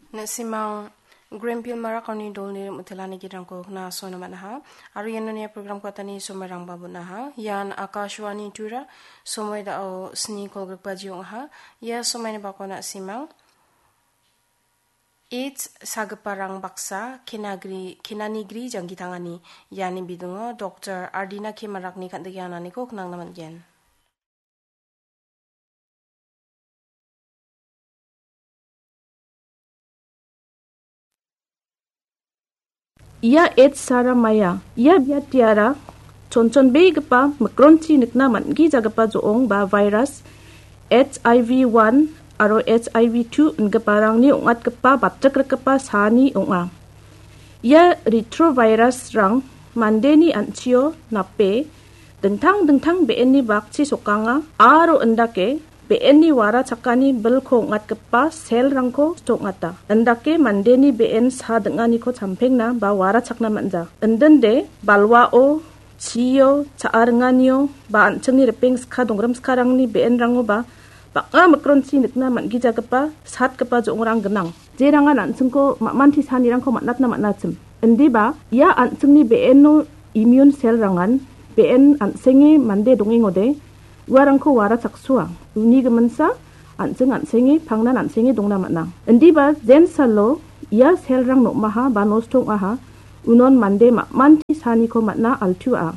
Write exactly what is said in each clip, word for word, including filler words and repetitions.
Na·simang Greenfield Marak aoni dolni rim·otelani gidrangko knasoina man·aha. Aro ianoni program katani somairangba bon·aha. Ian Akashvani Tura somoi da·o sni kolgrikbaji ong·aha. Ia somaini bako na·simang AIDS sagiparang baksa kenagri, kenanigri janggi tangani. Iani bidingo Doktor Ardina K Marakni kan·dike ananiko knangna man·gen. Ia AIDS sara maia. Ia biatiara chonchonbegipa mikronchi nikna man·gijagipa jo·ong ba virus H I V one aro H I V two ingiparangni ong·atgipa batrikgipa saani ong·a. Ia retrovirus-rang mandeni an·chio nape dingtang dingtang be·enni bakchi sokanga aro indake be·enni wara chakani bilko ong·atgipa cell-rangko ong·ata. Indake mandeni be·en sa ding·aniko champengna ba wara chakna man·ja. Indinde balwao, chio, cha·a ringanio ba an·chingni ripeng ska dongrim skarangni be·enrangoba bang·a mikronchi nikna man·gijagipa satgipa jo·ongrang gnang. Jerangan an·chingko ma·manti sanirangko man·atna man·achim. Indiba ia an·chingni be·eno immune cell-rangan be·en an·senge mande dongengode uarangko wara chaksoa. Uni giminsa an·ching an·senge pangnan an·senge dongna man·a. Indiba jensalo ia cell-rang nom·aha ba nosto ong·aha, unon mande ma·manti saniko man·a altua.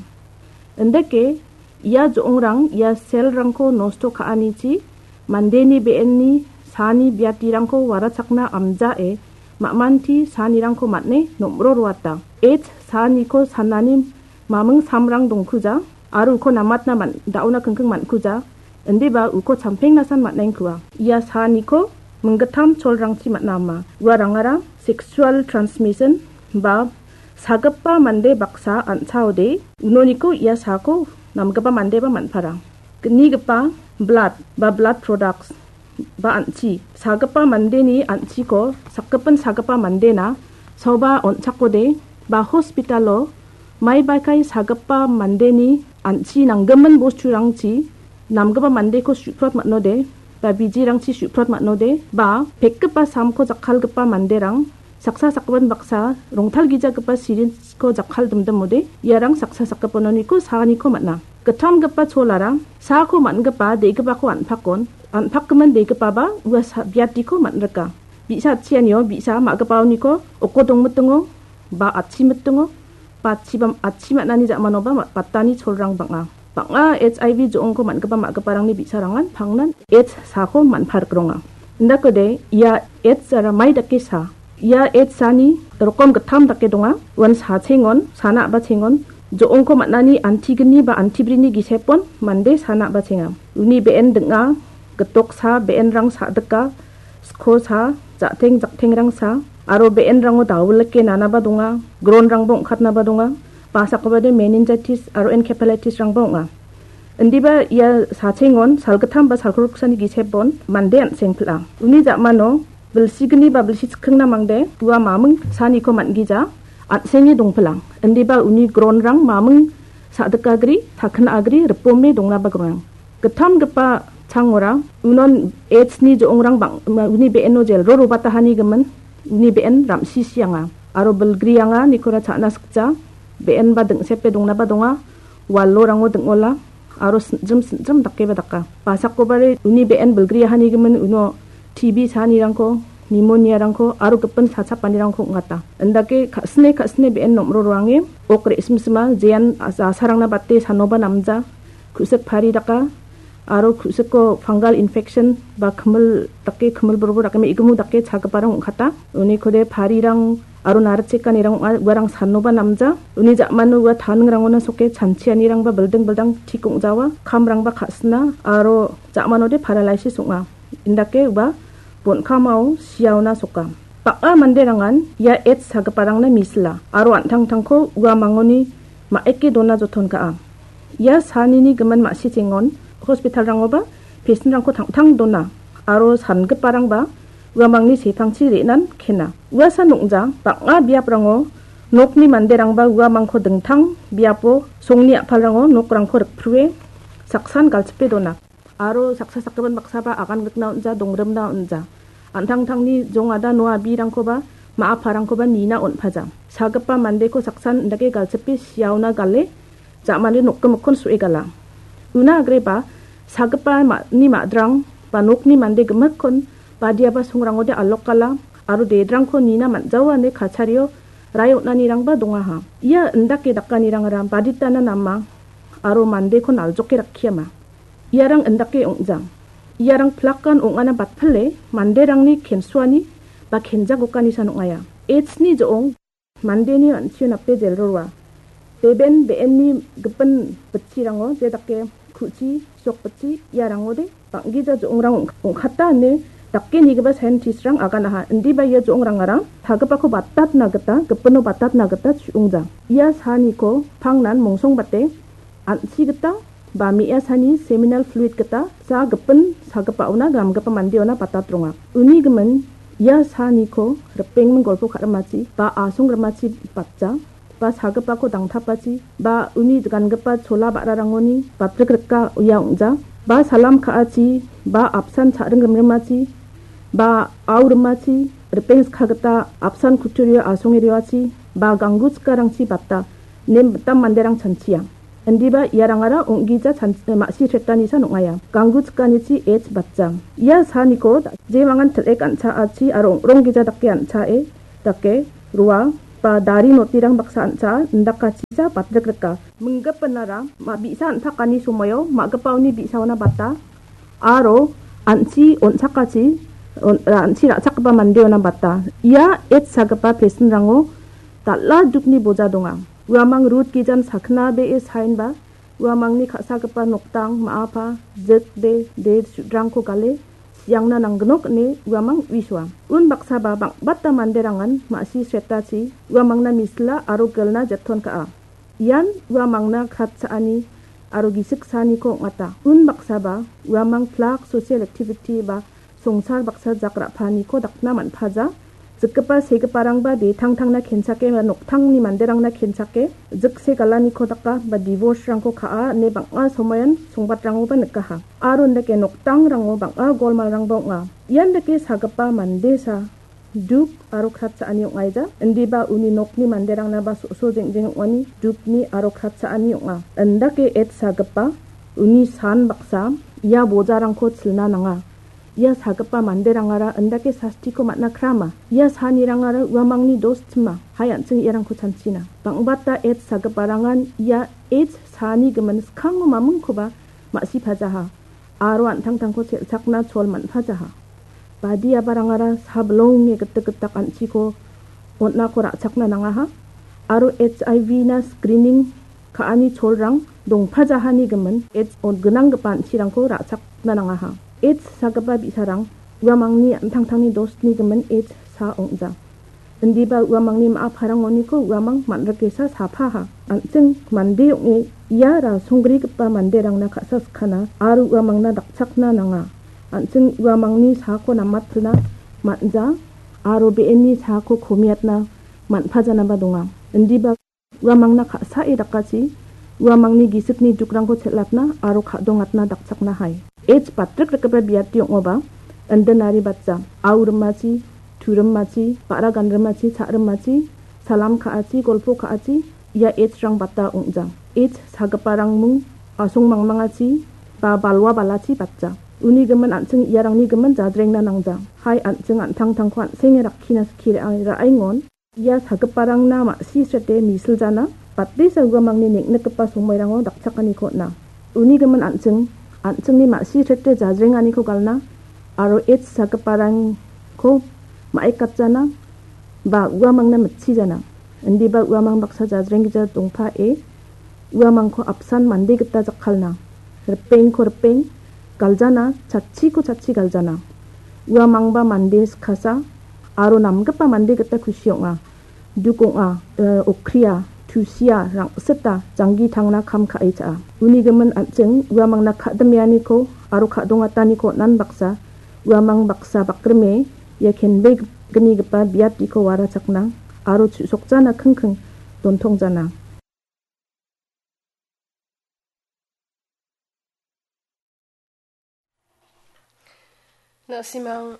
Indake ia jo·ongrang ia cell-rangko nosto ka·anichi mandeni be·enni saani biatirangko warachakna amjae ma·manti saanirangko man·e nom·roroata. AIDS saaniko sanani maming samrang dongkuja aro uko namatna man-, da·ona kingking man·kuja, indiba uko champengnasan man·engkua. Ia saaniko minggittam cholrangchi man·a ama. Uarangara sexual transmission ba sagipa mande baksa an·chaode unoniko ia saako namgipa mandeba man·para. Gnigipa blood ba blood products ba an·chi, sagipa mandeni an·chiko sakgipin sagipa mandena saoba on·chakode ba hospitalo maibaikai sagipa mandeni an·chi nanggimin bosturangchi namgipa mandeko su·prot man·ode ba bijirangchi su·prot man·ode ba pekgipa samko jakkalgipa manderang saksa sakgipin baksa rongtalgijagipa sirinjko jakkal dimdimode iarang saksa sakgipanoniko saaniko man·a. Gittamgipa cholara saako man·gipa degipako an·pakon, an·pakgimin degipaba ua sa-, biatiko man·rika. Bi·sa atchianio bi·sa ma·gipaoniko oko dongmitingo ba atchimitingo ba atchiba, atchi man·ani ja·manoba ma-, batani cholrang bang·a. Bang·a H I V jo·ongko man·gipa ma·giparangni bi·sarangan pangnan AIDS saako man·parikronga. Indakode ia AIDS ara mai dake sa? Ia AIDS saani rokom gittam dake donga. Uan sachengon, sana a·bachengon, jo·ongko man·ani antigni ba antibrini gisepon mande sana a·bachenga. Uni be·en ding·a, gitoksa, be·enrang sa·dika, skosa, ja·teng jaktengrangsa, aro be·enrango dawilike nanaba donga, gronrangba ong·katnaba donga, basakobade meningitis aro encephalitisrangba ong·a. Indiba ia sachengon salgittam ba salgriksani gisepon mande an·seng pil·a. Uni ja·mano bilsigni ba bilsi chikkingna mangde ua maming saaniko man·gija an·senge dongpilang. Indiba uni gronrang maming sa·dikagri, takina agri, ripome dongnaba gnang. Gittamgipa changora unon AIDS-ni jo·ongrang bang-, uni be·eno jelro robatahani gimin uni be·en ramsisianga aro bilgrianga nikora cha·na sikja, be·enba dingsepe dongnaba donga, walorango ding·ola aro sinjim sinjim dakeba daka. Basakobare uni be·en bilgriahani gimin uno T B saanirangko, pneumonia-rangko aro gipin sachapanirangko ong·ata. Indake ka·sine ka·sine be·en nom·roroange ok re·simsima jean a-, jasarangna bate sanoba namja, ku·sik pari daka, aro ku·siko fungal infection ba kimil dake, kimil borbo dake, me·gimu dake chagiparang ong·kata. Unikode parirang aro narichekanirang ong·a, uarang sanoba namja. Uni ja·mano ua taningrangona soke chanchianirangba bilding bildang tik ong·jawa, kamrangba ka·sina aro ja·manode paralysis ong·a. Indake ua bon·kamao siaona soka. Bang·a manderangan ia AIDS sagiparangna misila aro an·tangtangko uamangoni ma·eke dona joton ka·a. Ia saanini gimin ma·sichengon hospitalrangoba pesinrangko tangtang dona aro sangiparangba uamangni sepangchi re·nan kena. Uasan ong·ja bang·a biaprango nokni manderangba uamangko dingtang biapo songni a·palrango nokrangko rikprue saksan galchipe dona. Aro saksa sakgipin baksaba agan gitna on·ja, dongrimna on·ja. An·tangtangni jongada noa birangkoba, ma·a parangkoba nina on·paja. Sagipa mandeko saksan indake galchipe siaona gale, ja·mani nokgimikkon su·e gala. Una agreba, sagipa ma-, ni ma·drang ba nokni mande gimikkon badiaba songrangode alokgala aro dedrangko nina man·jaoa ine kachario rae on·anirangba dongaha. Ia indake dakanirangara baditana nama aro mandeko naljoke rakkiama. Iarang indake ong·jang. Iarang plakan ong·ana batpile manderangni kensuani ba kenjagokanisan ong·aia. H ni jo·ong mandeni an·chio nape jelroa. Beben be·enni gipin bitchirango je dake ku·chi, sok bitchi iarangode bang·gija jo·ongrang ong-, ong·kata ine dake nigipa scientist-rang aganaha. Indiba ia jo·ongrangara sagipako batatna gita, gipino batatna gita chu·ongjang. Ia saniko pangnan mongsongbate an·chi gita ba me·asani seminal fluid gita ja gipin sagipaona gamgipa mandeona batatronga. Uni gimin ia saniko ripengming golpo ka·rimachi ba asong rimachi batja ba sagipako dangtapachi ba uni gangipa chola ba·rarangoni batrik rika ia ong·ja ba salam ka·achi ba apsan cha·ring rimrimachi ba au rimachi ripeng skagita apsan kutturio asonge rioachi ba ganggu chikarangchi bata nem mitam manderang chanchia. Indiba iarangara ong·gija chan-, ma·si sretanisa ong·aia. Ganggu chikanichi H batjang. Ia saniko da-, jemangan til·ek an·chaachi aro ong·rong gija dake an·chae dake roa ba dari notirang baksa an·chaa indakachisa batrik rika. Minggipinara ma-, bi·sa an·takani somoio ma·gipaoni bi·saona bata aro an·chi on·chakachi on-, an·chi ra·chakgipa mandeona bata. Ia H sagipa pesinrango dal·a dukni boja donga. Uamang rut gijan sakna be·e saenba uamangni ka·sagipa noktang ma·apa jik de de su·drangko gale siangna nanggnok ine uamang uisoa. Unbaksaba bang·bata manderangan ma·si sretachi uamangna misila aro gilna jeton ka·a. Ian uamangna kratcha·ani aro gisik saaniko ong·ata. Unbaksaba uamang plak social activity ba songsar baksa jak ra·paaniko dakna man·paja. Jikgipa segiparangba de tangtangna kenchake ba noktangni manderangna kenchake jikse galaniko daka ba divorce-rangko ka·a ine bang·a somoian songbatrangoba nikaha. Aro indake noktangrango bang·a golmalrangba ong·a. Ian dake sagipa mandesa duk aro kratcha·ani ong·aija. Indiba uni nokni manderangna ba so·so jeng·jeng ong·ani dukni aro kratcha·ani ong·a. Indake H sagipa uni san baksa ia bojarangko chilna nanga. Ia sagipa manderangara indake sastiko man·a krama. Ia sanirangara uamangni dos tima. Hai an·ching iarangko chanchina. Bang·bata H sagiparangan ia H sani gimin skango mamingkoba ma·sipajaha. Aro an·tangtangko chel·chakna chol man·pajaha. Badiabarangara sablonge gitik gitak an·chiko on·ako ra·chakna nangaha. Aro H I V na screening ka·ani cholrang dongpajahani gimin H on gnanggipa an·chirangko ra·chakna nangaha. H sagipa bi·sarang uamangni an·tangtangni dosni gimin H sa ong·ja. Indiba uamangni ma·a parangoniko uamang man·rikesa sapaha. An·ching mande ong·e ia rasonggrigipa manderangna ka·sa skana aro uamangna dakchakna nanga. An·ching uamangni saako namatpilna man·ja aro be·enni saako komiatna man·pajanaba donga. Indiba uamangna ka·sae dakachi, uamangni gisikni dukrangko chel·atna aro ka·dongatna dakchakna hai. H batrik rikgipa biati ong·oba, indinari batja, au rimachi, tu rimachi, ba·ra gan rimachi, cha rimachi, salam ka·achi, golpo ka·achi, ia H rang bata ong·ja. H sagiparang mung asong mangmangachi ba balwa balachi batja. Uni gimin an·ching iarangni gimin jadrengna nangja. Hai an·ching an·tangtangko an·senge rakkina skie ra-, ra·engon. Ia sagiparangna ma·si srete misiljana, batesa uamangni neng·nikgipa somoirango dakchakaniko on·a. Uni gimin an·ching, an·chingni ma·si srete jajrenganiko galna aro H sagiparangko ma·ekatjana ba uamangna mitchijana. Indiba uamang baksa jajrenggija dongpae uamangko apsan mande gita jakkalna. Ripengko ripeng galjana, chatchiko chatchi galjana. Uamangba mande skasa aro namgipa mande gita kusi ong·a. Duk ong·a, eh, okria, tusia, rang·sita, janggi tangna kam ka·e cha·a. Uni gimin an·ching uamangna ka·dimeaniko aro ka·dongataniko on·an baksa, uamang baksa bakrime ia kenbegnigipa biatiko warachakna aro chu·sokjana kingking dontongjana. Na·simang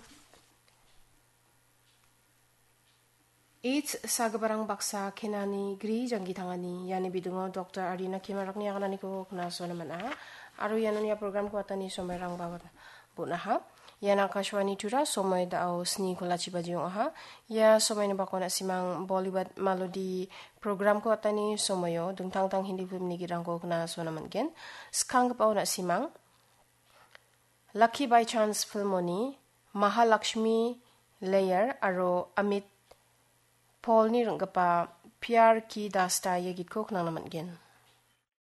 AIDS sagiparang baksa kenani gri janggi tangani, iani bidingo Doktor Arina Kimarakni agananiko knasona man·a. Aro iano ia programko atani somoirangba bon·aha. Ian Akashvani Tura, somoi da·o sni kolachi baji ong·aha. Ia somoini bakon a·simang Bollywood Malodi programko atani somoio dingtang tang Hindi filmni gitrangko knasona man·gen. Skanggipaon a·simang Lucky by Chance filmoni Mahalakshmi Layer aro Amit Paulni ring·gipa Pyar Ki Dasta ia gitko knangna man·gen.